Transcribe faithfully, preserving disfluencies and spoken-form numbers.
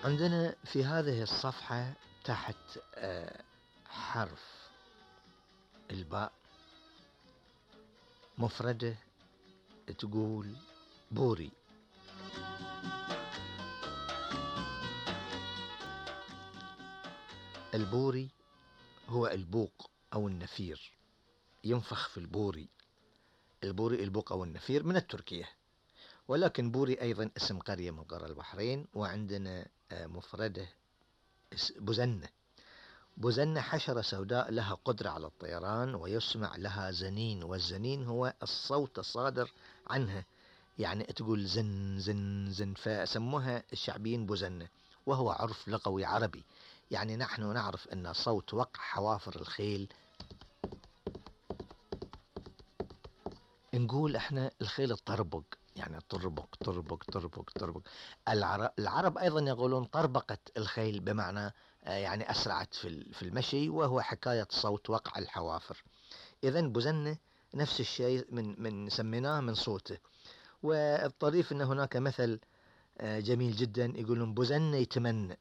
عندنا في هذه الصفحة تحت حرف الباء مفردة تقول بوري. البوري هو البوق أو النفير، ينفخ في البوري. البوري البوق أو النفير من التركية، ولكن بوري أيضا اسم قرية من قرى البحرين. وعندنا مفردة بزنة. بزنة حشرة سوداء لها قدرة على الطيران ويسمع لها زنين، والزنين هو الصوت الصادر عنها، يعني تقول زن زن زن، فسموها الشعبيين بزنة، وهو عرف لغوي عربي. يعني نحن نعرف أن صوت وقع حوافر الخيل، نقول احنا الخيل الطربق، يعني طربق طربق طربق طربق. العرب, العرب أيضا يقولون طربقت الخيل، بمعنى يعني أسرعت في المشي، وهو حكاية صوت وقع الحوافر. إذن بزنة نفس الشيء، من من سميناه من صوته. والطريف أن هناك مثل جميل جدا يقولون بزنة يتمنى،